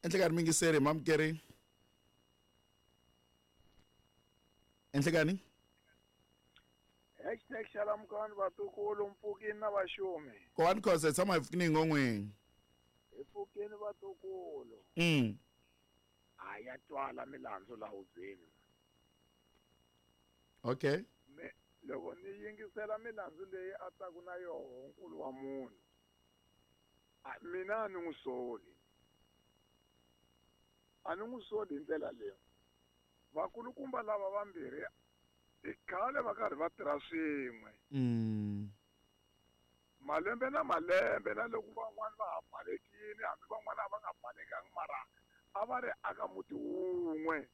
Enhlekani mingiseri mamukeri. Enhlekani. Hashtag xalamukani vatukulu mpfukini na vaxumi. Kowani Khosa tshama hi pfukini ngongweni. Hi pfukini vatukulu. A ya twala milandzu la hubyeni. Okay. Me loko ni yingisela milandzu leyi a taku na yoho nkulu wa munhu. Mina a ni n'wi soli. A ni n'wi soli hi ndlela leyi. Vakulukumba lava vambirhi i khale va karhi va tirha swin'we. Malembe na malembe na loko van'wani va ha balekile hambi van'wani a va nga balekangi mara a va ri aka muti wun'we.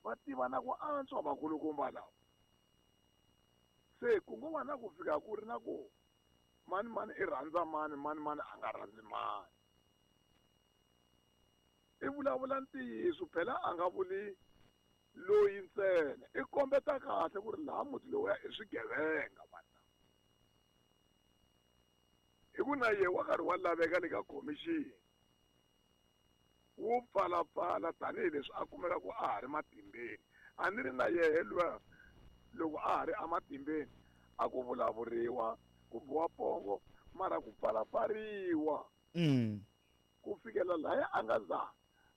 Va tiva na ku antswa vakulukumba lava. Se ku ngo va na ku fika ku ri na ku mani mani i rhandza mani mani mani a nga rhandzi mani. I vulavula ntiyiso phela a nga vuli loyi ntsena i kombeta kahle ku ri laha muti lowuya i swigevenga vanhu lava. Hi ku na yehe wa karhi wa laveka le ka khomixini wo pfalapfala tanihileswi a kumeka ku a ha ri matimbeni. A ni ri na yehe luya loko a ha ri ematimbeni a ku vulavuriwa ku biwa pongo mara ku pfalapfariwa. Ku fikela lahaya a nga za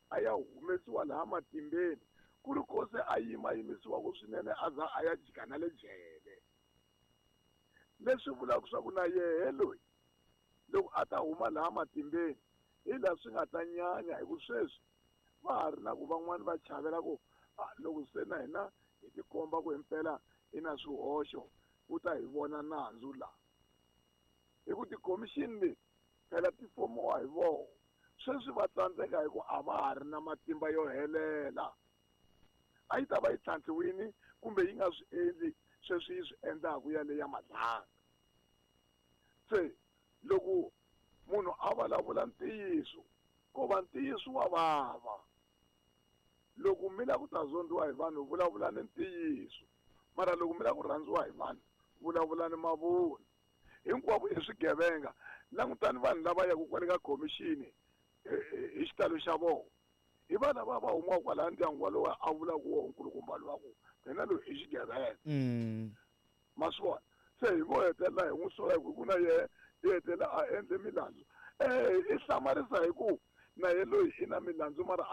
a ya humesiwa laha matimbeni ku ri kose a yima yimisiwaka swinene a za a ya jika na le jele. Leswi vulaka swa ku na yehe loyi loko a ta huma laha matimbeni hi laha swi nga ta nyanya hi ku sweswi va ha ri na ku van'wani va chavela ku loko se na hina hi tikomba ku himpela hi na swihoxo ku ta hi vona nandzu laha. Hi ku tikhomixini leti phela ti fomiwa hi vona. Sweswi va tsandzeka hi ku a va ha ri na matimba yo helela. A yi ta va yi tlhantlhiwile kumbe yi nga swi endli sweswi yi swi endlaku yaleyo ya Madlanga. Se loko munhu a vulavula ntiyiso ko va ntiyiso wa vava. Loko mi lava ku ta zondiwa hi vanhu vulavulani ntiyiso, mara loko mi lava ku rhandziwa hi vanhu vulavulani mavunwa. Hinkwavo i swigevenga. Langutani vanhu lava yaka kwale ka khomixini hi xitalo xa vona. Hi va lava va humaka kwalaya ndyangu walowo a vulaka woho nkulukumba lowa ku yena loyi i xigevenga. Ma swi vona? Se hi vo hetelela hi n'wi sola hi ku na yehe i hetelela a endle milandzu. I hlamarisa hi ku na ye loyi i na milandzu mara